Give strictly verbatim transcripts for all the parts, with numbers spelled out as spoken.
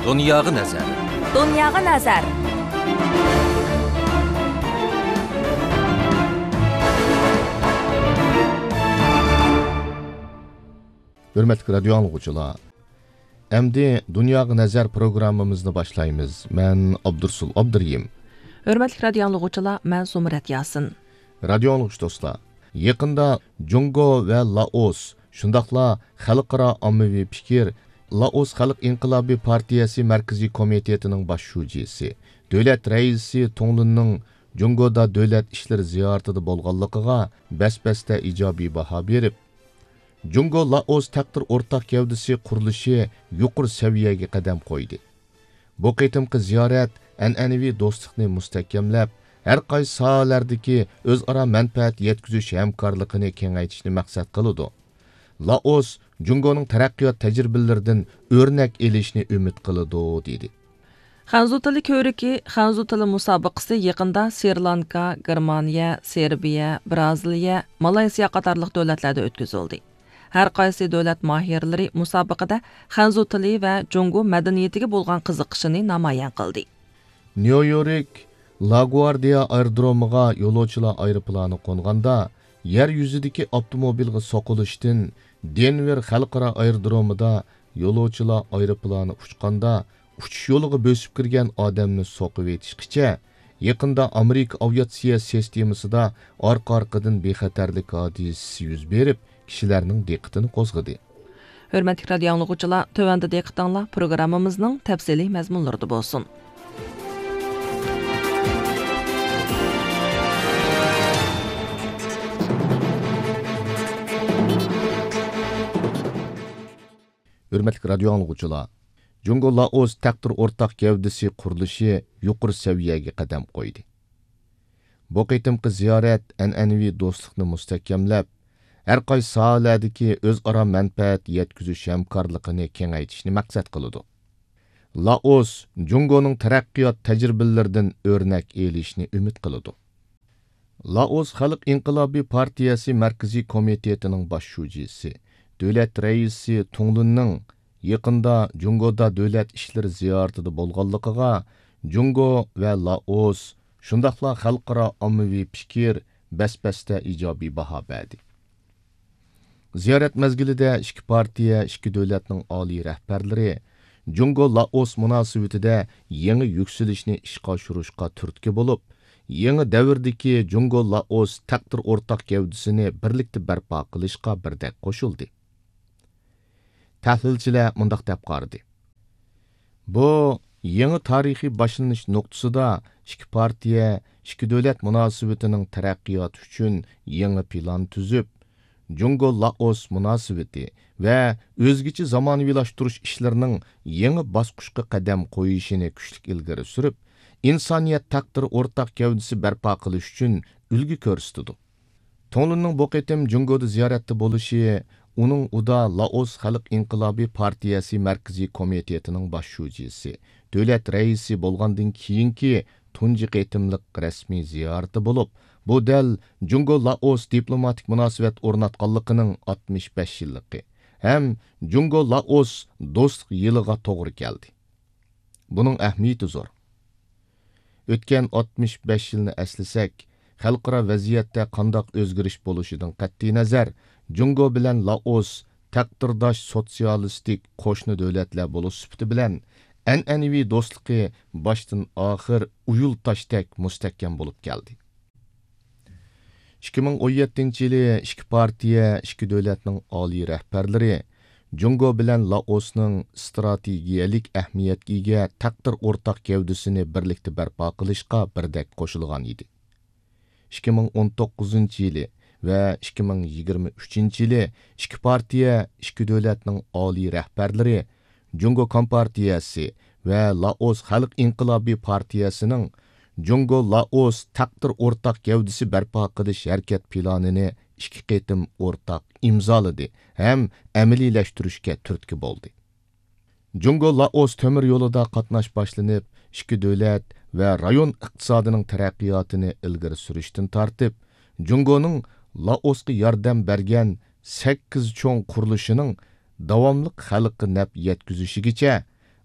دۇنياغا نەزەر. دۇنياغا نەزەر. ھۆرمەتلىك رادىيو ئاڭلىغۇچىلار، ئەمدى دۇنياغا نەزەر پروگراممىمىزنى باشلايمىز. مەن ئابدۇرسۇل ئابدۇرېھىم. ھۆرمەتلىك رادىيو ئاڭلىغۇچىلار، مەن زۇمرەت ياسىن. رادىيو ئاڭلىغۇچى دوستلار، يېقىندا جۇڭگو ۋە لائوس، شۇنداقلا خەلقئارا ئاممىۋى پىكىر، لائوس خەلق ئىنقىلابى پارتىيەسى مەركىزىي كومىتېتىنىڭ باش شۇجىسى، دۆلەت رەئىسى تۇڭلۇننىڭ جۇڭگودا دۆلەت ئىشلىرى زىيارىتىدە بولغانلىقىغا بەس-بەستە ئىجابىي باھا بېرىپ، جۇڭگو لائوس تەقدىر ئورتاق گەۋدىسى قۇرۇلۇشى يۇقىرى سەۋىيەگە قەدەم قويدى. بۇ قېتىمقى زىيارەت ئەنئەنىۋى دوستلۇقنى مۇستەھكەملەپ، ھەر قايسى ساھەلەردىكى ئۆزئارا مەنپەئەت يەتكۈزۈش ھەمكارلىقىنى كېڭەيتىشنى مەقسەت قىلىدۇ. لائوس جۇڭگونىڭ تەرەققىيات تەجرىبىلىرىدىن ئۆرنەك ئېلىشنى ئۈمىد قىلىدۇ، دېدى. خەنزۇ تىلى كۆرىكى، خەنزۇ تىلى مۇسابىقىسى يېقىندا سرى لانكا، گېرمانىيە، سېربىيە، بىرازىلىيە، مالايسىيا قاتارلىق دۆلەتلەردە ئۆتكۈزۈلدى. ھەر قايسى دۆلەت ماھىرلىرى مۇسابىقىدە خەنزۇ تىلى ۋە جۇڭگو مەدەنىيىتىگە بولغان قىزىقىشىنى نامايان قىلدى. نيۇ يورك لاگۋاردىيا ئايرودرومىغا يولۇچىلار ئايروپىلانى قونغاندا، يەر يۈزىدىكى ئاپتوموبىلغا سوقۇلۇشتىن، دېنۋېر خەلقئارا ئايرودرومىدا يولۇچىلار ئايروپىلانى ئۇچقاندا، ئۇچۇش يولىغا بۆسۈپ كىرگەن ئادەمنى سوقۇۋېتىشقىچە، يېقىندا ئامېرىكا ئاۋىئاتسىيە سىستېمىسىدا ئارقا-ئارقىدىن بىخەتەرلىك ھادىسىسى يۈز بېرىپ، كىشىلەرنىڭ دىققىتىنى قوزغىدى. ھۆرمەتلىك رادىيو ئاڭلىغۇچىلار، تۆۋەندە دىققىتىڭلار پروگراممىمىزنىڭ تەپسىلىي مەزمۇنلىرىدا بولسۇن. ھۆرمەتلىك رادىيو ئاڭلىغۇچىلار، جۇڭگو لائوس تەقدىر ئورتاق گەۋدىسى قۇرۇلۇشى يۇقىرى سەۋىيەگە قەدەم قويدى. بۇ قېتىمقى زىيارەت ئەنئەنىۋى دوستلۇقنى مۇستەھكەملەپ، ھەر قايسى ساھەلەردىكى ئۆزئارا مەنپەئەت يەتكۈزۈش ھەمكارلىقىنى كېڭەيتىشنى مەقسەت قىلىدۇ. لائوس جۇڭگونىڭ تەرەققىيات تەجرىبىلىرىدىن ئۆرنەك ئېلىشنى ئۈمىد قىلىدۇ. لائوس خەلق ئىنقىلابى پارتىيەسى مەركىزىي كومىتېتىنىڭ باش شۇجىسى، دۆلەت رەئىسى تۇڭلۇننىڭ يېقىندا جۇڭگودا دۆلەت ئىشلىرى زىيارىتىدە بولغانلىقىغا جۇڭگو ۋە لائوس، شۇنداقلا خەلقئارا ئاممىۋى پىكىر بەس-بەستە ئىجابىي باھا بەردى. زىيارەت مەزگىلىدە ئىككى پارتىيە، ئىككى دۆلەتنىڭ ئالىي رەھبەرلىرى جۇڭگو لائوس مۇناسىۋىتىدە يېڭى يۈكسىلىشنى ئىشقا ئاشۇرۇشقا تۈرتكە بولۇپ، يېڭى دەۋردىكى جۇڭگو لائوس تەقدىر ئورتاق گەۋدىسىنى بىرلىكتە بەرپا قىلىشقا بىردەك قوشۇلدى. تەھلىلچىلەر مۇنداق دەپ قارىدى. بۇ يېڭى تارىخىي باشلىنىش نۇقتىسىدا ئىككى پارتىيە، ئىككى دۆلەت مۇناسىۋىتىنىڭ تەرەققىياتى ئۈچۈن يېڭى پىلان تۈزۈپ، جۇڭگو لائوس مۇناسىۋىتى ۋە ئۆزگىچە زامانىۋىلاشتۇرۇش ئىشلىرىنىڭ يېڭى باسقۇچقا قەدەم قويۇشىنى كۈچلۈك ئىلگىرى سۈرۈپ، ئىنسانىيەت تەقدىرى ئورتاق گەۋدىسى بەرپا قىلىش ئۈچۈن ئۈلگە كۆرسىتىدۇ. تۇڭلۇننىڭ بۇ قېتىم جۇڭگودا زىيارەتتە بولۇشى ئۇنىڭ ئۇدا لائوس خەلق ئىنقىلابى پارتىيەسى مەركىزىي كومىتېتىنىڭ باش شۇجىسى، دۆلەت رەئىسى بولغاندىن كېيىنكى تۇنجى قېتىملىق رەسمىي زىيارىتى بولۇپ، بۇ دەل جۇڭگو لائوس دىپلوماتىك مۇناسىۋەت ئورناتقانلىقىنىڭ ئاتمىش بەش يىللىقى ھەم جۇڭگو لائوس دوستلۇق يىلىغا توغرا كەلدى. بۇنىڭ ئەھمىيىتى زور. ئۆتكەن ئاتمىش بەش يىلنى ئەسلىسەك، خەلقئارا ۋەزىيەتتە قانداق ئۆزگىرىش بولۇشىدىن قەتئىينەزەر، جۇڭگو بىلەن لائوس تەقدىرداش سوتسىيالىستىك قوشنا دۆلەتلەر بولۇش سۈپىتى بىلەن، ئەنئەنىۋى دوستلۇقى باشتىن ئاخىر ئۇيۇل تاشتەك مۇستەھكەم بولۇپ كەلدى. ئىككى مىڭ ئون يەتتىنچى يىلى ئىككى پارتىيە، ئىككى دۆلەتنىڭ ئالىي رەھبەرلىرى جۇڭگو بىلەن لائوسنىڭ ئىستراتېگىيەلىك ئەھمىيەتكە ئىگە تەقدىر ئورتاق گەۋدىسىنى بىرلىكتە بەرپا قىلىشقا بىردەك قوشۇلغان ئىدى. ئىككى مىڭ ئون توققۇزىنچى يىلى ۋە ئىككى مىڭ يىگىرمە ئۈچىنچى يىلى ئىككى پارتىيە، ئىككى دۆلەتنىڭ ئالىي رەھبەرلىرى جۇڭگو كومپارتىيەسى ۋە لائوس خەلق ئىنقىلابى پارتىيەسىنىڭ جۇڭگو لائوس تەقدىر ئورتاق گەۋدىسى بەرپا قىلىش ھەرىكەت پىلانىنى ئىككى قېتىم ئورتاق ئىمزالىدى ھەم ئەمەلىيلەشتۈرۈشكە تۈرتكە بولدى. جۇڭگو لائوس تۆمۈر يولىدا قاتناش باشلىنىپ، ئىككى دۆلەت ۋە رايون ئىقتىسادىنىڭ تەرەققىياتىنى ئىلگىرى سۈرۈشتىن تارتىپ، جۇڭگونىڭ لائوسقا ياردەم بەرگەن سەككىز چوڭ قۇرۇلۇشىنىڭ داۋاملىق خەلققە نەپ يەتكۈزۈشىگىچە،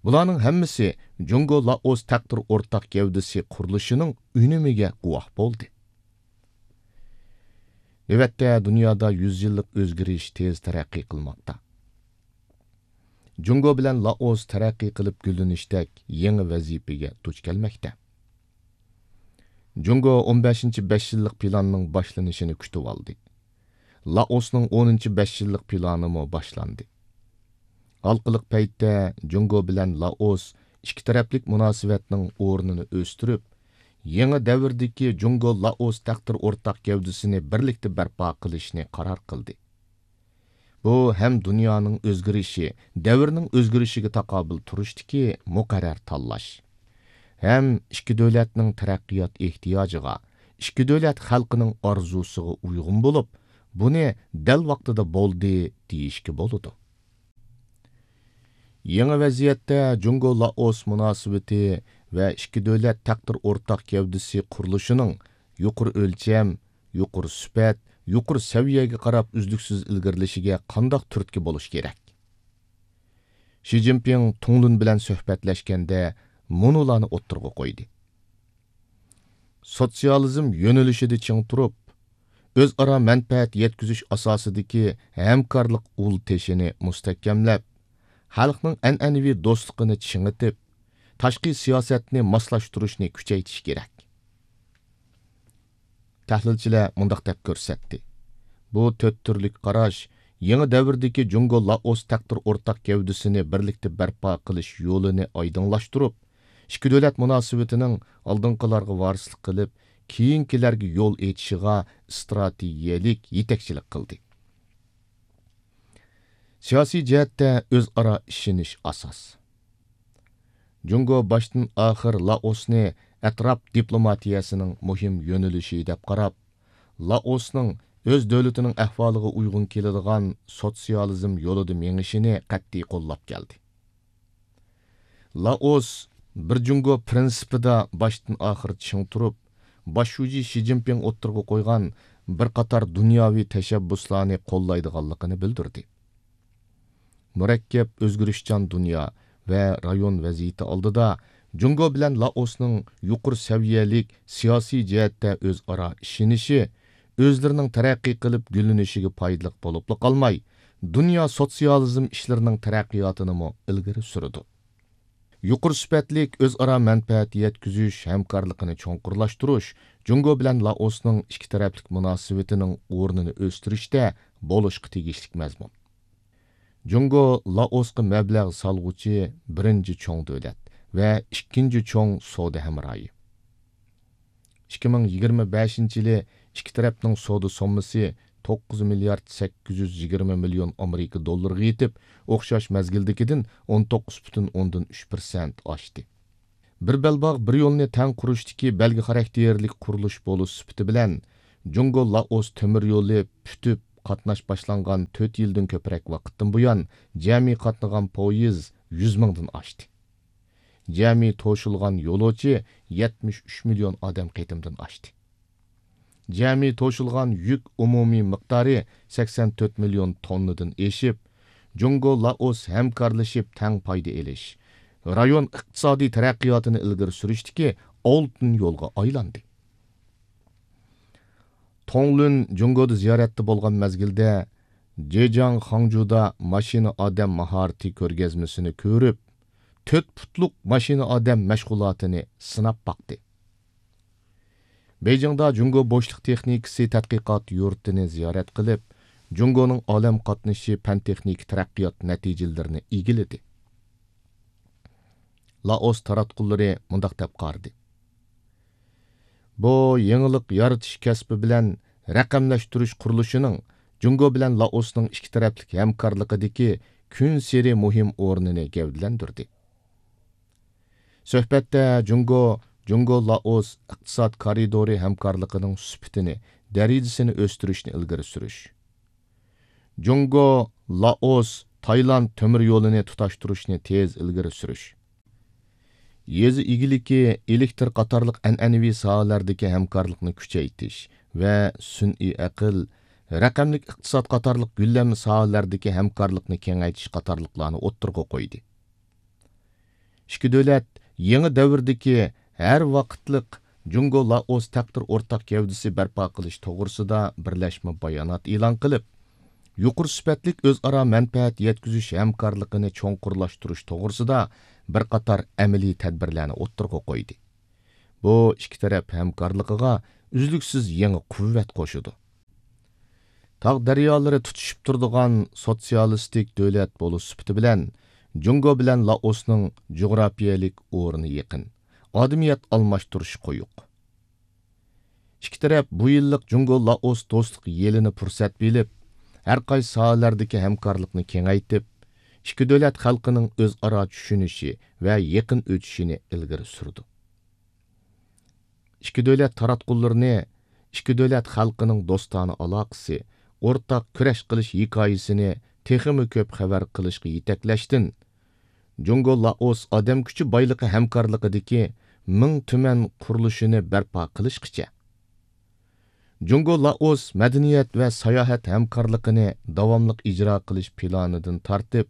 بۇلارنىڭ ھەممىسى جۇڭگو لائوس تەقدىر ئورتاق گەۋدىسى قۇرۇلۇشىنىڭ ئۈنۈمىگە گۇۋاھ بولدى. نۆۋەتتە دۇنيادا يۈز يىللىق ئۆزگىرىش تېز تەرەققىي قىلماقتا. جۇڭگو بىلەن لائوس تەرەققىي قىلىپ گۈللىنىشتەك يېڭى ۋەزىپىگە دۇچ كەلمەكتە. جۇڭگو ئون بەشىنچى بەش يىللىق پىلاننىڭ باشلىنىشىنى كۈتۈۋالدى. لائوسنىڭ ئونىنچى بەش يىللىق پىلانىمۇ باشلاندى. ھالقىلىق پەيتتە جۇڭگو بىلەن لائوس ئىككى تەرەپلىك مۇناسىۋەتنىڭ ئورنىنى ئۆستۈرۈپ، يېڭى دەۋردىكى جۇڭگو لائوس تەقدىر ئورتاق گەۋدىسىنى بىرلىكتە بەرپا قىلىشنى قارار قىلدى. بۇ ھەم دۇنيانىڭ ئۆزگىرىشى، دەۋرنىڭ ئۆزگىرىشىگە تاقابىل تۇرۇشتىكى مۇقەررەر تاللاش، ھەم ئىككى دۆلەتنىڭ تەرەققىيات ئېھتىياجىغا، ئىككى دۆلەت خەلقىنىڭ ئارزۇسىغا ئۇيغۇن بولۇپ، بۇنى دەل ۋاقتىدا بولدى دېيىشكە بولىدۇ. يېڭى ۋەزىيەتتە جۇڭگو لائوس مۇناسىۋىتى ۋە ئىككى دۆلەت تەقدىر ئورتاق گەۋدىسى قۇرۇلۇشىنىڭ يۇقىرى ئۆلچەم، يۇقىرى سۈپەت، يۇقىرى سەۋىيەگە قاراپ ئۈزلۈكسىز ئىلگىرىلىشىگە قانداق تۈرتكە بولۇش كېرەك؟ شى جىنپىڭ تۇڭلۇن بىلەن سۆھبەتلەشكەندە مۇنۇلارنى ئوتتۇرىغا قويدى. سوتسىيالىزم يۆنىلىشىدە چىڭ تۇرۇپ، ئۆزئارا مەنپەئەت يەتكۈزۈش ئاساسىدىكى ھەمكارلىق ئۇل تېشىنى مۇستەھكەملەپ، خەلقنىڭ ئەنئەنىۋى دوستلۇقىنى چىڭىتىپ، تاشقى سىياسەتنى ماسلاشتۇرۇشنى كۈچەيتىش كېرەك. تەھلىلچىلەر مۇنداق دەپ كۆرسەتتى: بۇ تۆت تۈرلۈك قاراش يېڭى دەۋردىكى جۇڭگو لائوس تەقدىر ئورتاق گەۋدىسىنى بىرلىكتە بەرپا قىلىش يولىنى ئايدىڭلاشتۇرۇپ، ئىككى دۆلەت مۇناسىۋىتىنىڭ ئالدىنقىلارغا ۋارىسلىق قىلىپ، كېيىنكىلەرگە يول ئېچىشىغا ئىستراتېگىيەلىك يېتەكچىلىك قىلدى. سىياسىي جەھەتتە ئۆزئارا ئىشىنىش ئاساس. جۇڭگو باشتىن ئاخىر لائوسنى ئەتراپ دىپلوماتىيەسىنىڭ مۇھىم يۆنىلىشى دەپ قاراپ، لائوسنىڭ ئۆز دۆلىتىنىڭ ئەھۋالىغا ئۇيغۇن كېلىدىغان سوتسىيالىزم يولىدا مېڭىشىنى قەتئىي قوللاپ كەلدى. لائوس بىر جۇڭگو پىرىنسىپىدا باشتىن ئاخىر چىڭ تۇرۇپ، باش شۇجى شى جىنپىڭ ئوتتۇرىغا قويغان بىر قاتار دۇنياۋى تەشەببۇسلارنى قوللايدىغانلىقىنى بىلدۈردى. مۇرەككەپ ئۆزگىرىشچان دۇنيا ۋە رايون ۋەزىيىتى ئالدىدا جۇڭگو بىلەن لائوسنىڭ يۇقىرى سەۋىيەلىك سىياسىي جەھەتتە ئۆزئارا ئىشىنىشى، ئۆزلىرىنىڭ تەرەققىي قىلىپ گۈللىنىشىگە پايدىلىق بولۇپلا قالماي، دۇنيا سوتسىيالىزم ئىشلىرىنىڭ تەرەققىياتىنىمۇ ئىلگىرى سۈرىدۇ. يۇقىرى سۈپەتلىك ئۆزئارا مەنپەئەت يەتكۈزۈش ھەمكارلىقىنى چوڭقۇرلاشتۇرۇش جۇڭگو بىلەن لائوسنىڭ ئىككى تەرەپلىك مۇناسىۋىتىنىڭ ئورنىنى ئۆستۈرۈشتە بولۇشقا تېگىشلىك مەزمۇن. جۇڭگو لائوسقا مەبلەغ سالغۇچى بىرىنچى چوڭ دۆلەت ۋە ئىككىنچى چوڭ سودا ھەمراھى. ئىككى مىڭ يىگىرمە بەشىنچى يىلى ئىككى تەرەپنىڭ سودا سوممىسى توققۇز مىليارد سەككىز يۈز يىگىرمە مىليون ئامېرىكا دوللىرىغا يېتىپ، ئوخشاش مەزگىلدىكىدىن ئون توققۇز پۈتۈن ئوندىن ئۈچ پىرسەنت ئاشتى. بىر بەلباغ بىر يولنى تەڭ قۇرۇشتىكى بەلگە خاراكتېرلىك قۇرۇلۇش بولۇش سۈپىتى بىلەن، جۇڭگو لائوس تۆمۈر يولى پۈتۈپ قاتناش باشلانغان تۆت يىلدىن كۆپرەك ۋاقىتتىن بۇيان، جەمئىي قاتنىغان پويىز يۈز مىڭدىن ئاشتى. جەمئىي توشۇلغان يولۇچى يەتمىش ئۈچ مىليون ئادەم قېتىمدىن ئاشتى. جەمئىي توشۇلغان يۈك ئومۇمىي مىقدارى سەكسەن تۆت مىليون توننىدىن ئېشىپ، جۇڭگو لائوس ھەمكارلىشىپ تەڭ پايدا ئېلىش، رايون ئىقتىسادىي تەرەققىياتىنى ئىلگىرى سۈرۈشتىكى ئالتۇن يولغا ئايلاندى. تۇڭلۈن جۇڭگودا زىيارەتتە بولغان مەزگىلدە، جېجياڭ خاڭجۇدا ماشىنا ئادەم ماھارىتى كۆرگەزمىسىنى كۆرۈپ، تۆت پۇتلۇق ماشىنا ئادەم مەشغۇلاتىنى سىناپ باقتى. بېيجىڭدا جۇڭگو بوشلۇق تېخنىكىسى تەتقىقات يۇرتىنى زىيارەت قىلىپ، جۇڭگونىڭ ئالەم قاتنىشى پەن-تېخنىكا تەرەققىيات نەتىجىلىرىنى ئىگىلىدى. لائوس تاراتقۇلىرى مۇنداق دەپ قارىدى: بۇ يېڭىلىق يارىتىش كەسپى بىلەن رەقەملەشتۈرۈش قۇرۇلۇشىنىڭ جۇڭگو بىلەن لائوسنىڭ ئىككى تەرەپلىك ھەمكارلىقىدىكى كۈنسېرى مۇھىم ئورنىنى گەۋدىلەندۈردى. سۆھبەتتە جۇڭگو، جۇڭگو لائوس ئىقتىساد كارىدورى ھەمكارلىقىنىڭ سۈپىتىنى، دەرىجىسىنى ئۆستۈرۈشنى ئىلگىرى سۈرۈش، جۇڭگو، لائوس، تايلاند تۆمۈر يولىنى تۇتاشتۇرۇشنى تېز ئىلگىرى سۈرۈش، يېزا ئىگىلىكى، ئېلېكتىر قاتارلىق ئەنئەنىۋى ساھەلەردىكى ھەمكارلىقنى كۈچەيتىش ۋە سۈنئىي ئەقىل، رەقەملىك ئىقتىساد قاتارلىق گۈللەنمە ساھەلەردىكى ھەمكارلىقنى كېڭەيتىش قاتارلىقلارنى ئوتتۇرىغا قويدى. ئىككى دۆلەت يېڭى دەۋردىكى ھەر ۋاقىتلىق جۇڭگو لائوس تەقدىر ئورتاق گەۋدىسى بەرپا قىلىش توغرىسىدا بىرلەشمە بايانات ئېلان قىلىپ، يۇقىرى سۈپەتلىك ئۆزئارا مەنپەئەت يەتكۈزۈش ھەمكارلىقىنى چوڭقۇرلاشتۇرۇش توغرىسىدا بىر قاتار ئەمەلىي تەدبىرلەرنى ئوتتۇرىغا قويدى. بۇ ئىككى تەرەپ ھەمكارلىقىغا ئۈزلۈكسىز يېڭى قۇۋۋەت قوشىدۇ. تاغ دەريالىرى تۇتىشىپ تۇرىدىغان سوتسىيالىستىك دۆلەت بولۇش سۈپىتى بىلەن، جۇڭگو بىلەن لائوسنىڭ جۇغراپىيەلىك ئورنى يېقىن، ئادەمىيەت ئالماشتۇرۇشى قويۇق. ئىككى تەرەپ بۇ يىللىق جۇڭگو لائوس دوستلۇق يىلىنى پۇرسەت بىلىپ، ھەر قايسى ساھەلەردىكى ھەمكارلىقنى كېڭەيتىپ، ئىككى دۆلەت خەلقىنىڭ ئۆزئارا چۈشىنىشى ۋە يېقىن ئۆتۈشىنى ئىلگىرى سۈردى. ئىككى دۆلەت تاراتقۇلىرىنى ئىككى دۆلەت خەلقىنىڭ دوستانە ئالاقىسى، ئورتاق كۈرەش قىلىش ھېكايىسىنى تېخىمۇ كۆپ خەۋەر قىلىشقا يېتەكلەشتىن، جۇڭگو لائوس ئادەم كۈچى بايلىقى ھەمكارلىقىدىكى مىڭ تۈمەن قۇرۇلۇشىنى بەرپا قىلىشقىچە، جۇڭگو لائوس مەدەنىيەت ۋە ساياھەت ھەمكارلىقىنى داۋاملىق ئىجرا قىلىش پىلانىدىن تارتىپ،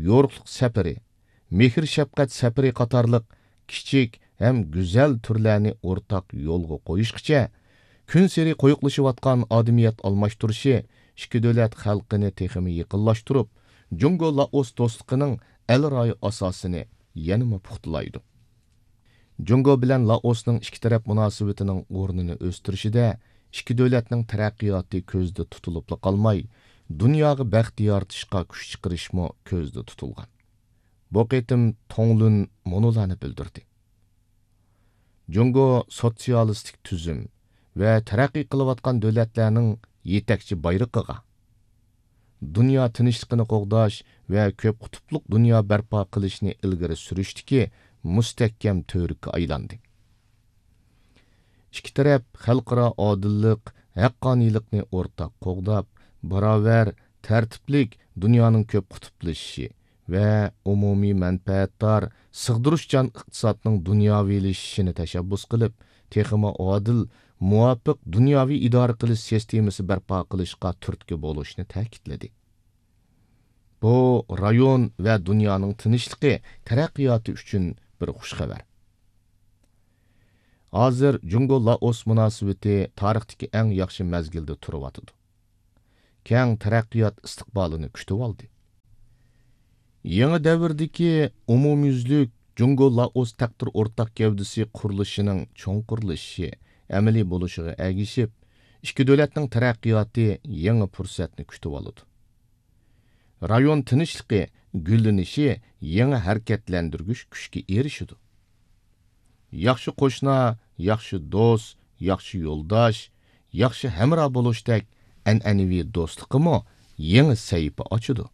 يورۇقلۇق سەپىرى، مېھىر-شەپقەت سەپىرى قاتارلىق كىچىك ھەم گۈزەل تۈرلەرنى ئورتاق يولغا قويۇشقىچە، كۈنسېرى قويۇقلىشىۋاتقان ئادەمىيەت ئالماشتۇرۇشى ئىككى دۆلەت خەلقىنى تېخىمۇ يېقىنلاشتۇرۇپ، جۇڭگو لائوس دوستلۇقىنىڭ ئەلرايى ئاساسىنى يەنىمۇ پۇختىلايدۇ. جۇڭگو بىلەن لائوسنىڭ ئىككى تەرەپ مۇناسىۋىتىنىڭ ئورنىنى ئۆستۈرۈشىدە ئىككى دۆلەتنىڭ تەرەققىياتى كۆزدە تۇتۇلۇپلا قالماي، دۇنياغا بەخت يارىتىشقا كۈچ چىقىرىشمۇ كۆزدە تۇتۇلغان. بۇ قېتىم توڭلۈن مۇنۇلارنى بىلدۈردى: جۇڭگو سوتسىيالىستىك تۈزۈم ۋە تەرەققىي قىلىۋاتقان دۆلەتلەرنىڭ يېتەكچى بايرىقىغا، دۇنيا تىنچلىقىنى قوغداش ۋە كۆپ قۇتۇپلۇق دۇنيا بەرپا قىلىشنى ئىلگىرى سۈرۈشتىكى مۇستەھكەم تۈۋرۈككە ئايلاندى. ئىككى تەرەپ خەلقئارا ئادىللىق، ھەققانىيلىقنى ئورتاق قوغداپ، باراۋەر، تەرتىپلىك دۇنيانىڭ كۆپ قۇتۇپلىشىشى ۋە ئومۇمىي مەنپەئەتدار، سىغدۇرۇشچان ئىقتىسادنىڭ دۇنياۋىلىشىشىنى تەشەببۇس قىلىپ، تېخىمۇ ئادىل، مۇۋاپىق دۇنياۋى ئىدارە قىلىش سىستېمىسى بەرپا قىلىشقا تۈرتكە بولۇشنى تەكىتلىدى. بۇ رايون ۋە دۇنيانىڭ تىنچلىقى، تەرەققىياتى ئۈچۈن بىر خۇش خەۋەر. ھازىر جۇڭگو لائوس مۇناسىۋىتى تارىختىكى ئەڭ ياخشى مەزگىلدە تۇرۇۋاتىدۇ. كەڭ تەرەققىيات ئىستىقبالىنى كۈتۈۋالدى. يېڭى دەۋردىكى ئومۇميۈزلۈك جۇڭگو لائوس تەقدىر ئورتاق گەۋدىسى قۇرۇلۇشىنىڭ چوڭقۇرلىشىشى، ئەمەلىي بولۇشىغا ئەگىشىپ، ئىككى دۆلەتنىڭ تەرەققىياتى يېڭى پۇرسەتنى كۈتۈۋالىدۇ. رايون تىنچلىقى، گۈللىنىشى يېڭى ھەرىكەتلەندۈرگۈچ كۈچكە ئېرىشىدۇ. ياخشى قوشنا، ياخشى دوست، ياخشى يولداش، ياخشى ھەمراھ بولۇشتەك ئەنئەنىۋى دوستلۇققىمۇ يېڭى سەھىپە ئاچىدۇ.